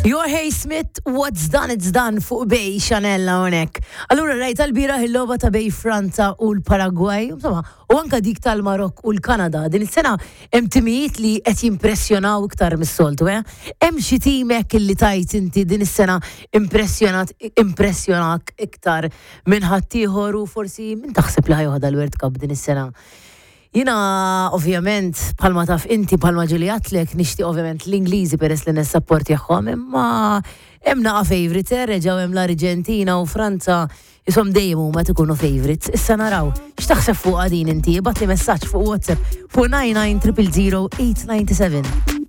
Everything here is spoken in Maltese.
Jorge Smith, What's Done It's Done fuq Bay Chanel hawnhekk. Allura rajt għal-bieraħ il-logħba ta' bej Franza u l-Paragwaj, insomma, u anka dik tal-Marokk u l-Kanada. Din is-sena hemm timijiet li qed jimpressjonaw iktar mis-soltu, eh? Hemm xi tim hekk li tajt inti din is-sena impressjonat impressjonak iktar minn ħaddieħor u forsi min taħseb li ħa joħodha l-World Cup din is-sena? Jiena ovvjament bħalma taf inti bħalma ġieli għedtlek nixtieq ovvjament l-Ingliżi peress li nissapportjahom imma hemm naqa' favourites eh, reġgħu hemm l-Arġentina u Franza jisom dejjem huma ikunu favourites. Issa naraw, x'taħseb fuqha din inti? Ibgħatli messaġġ fuq WhatsApp fuq 99 000 897.